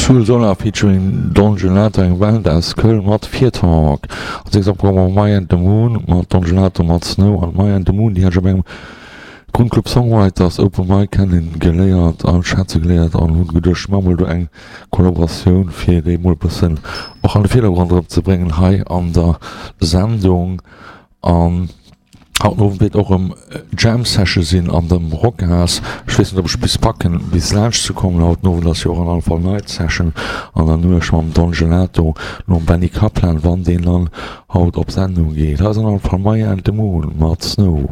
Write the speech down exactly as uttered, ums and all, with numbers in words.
Soul Solar featuring Don Gelato, eng Band aus Köln mat Fear Talk. Als nächst am Programm Maya and the Moon mat Don Gelato mat Snow an Maya and the Moon, déi hat ech op engem Grund Club Songwriters Open Mic kennen geléiert an schätze geléiert an hunn geduecht, ech maache mol do eng Kollaboratioun fir déi mol e bëssen och an de Virdergrond erëm ze bréngen hei an der Sendung. An haut den Owend wäert och erëm Jam Session sinn an dem Rockhaus. Ech weess net, ob ech bis packen, bis laanscht ze kommen. Haut den Owend ass jo och an alle Fall Night Session an der Nuecht mam Don Gelato nom Benny Kaplan, wann deen dann haut op Sendung geet. Hei ass an alle Fall Maya and the Moon mat Snow.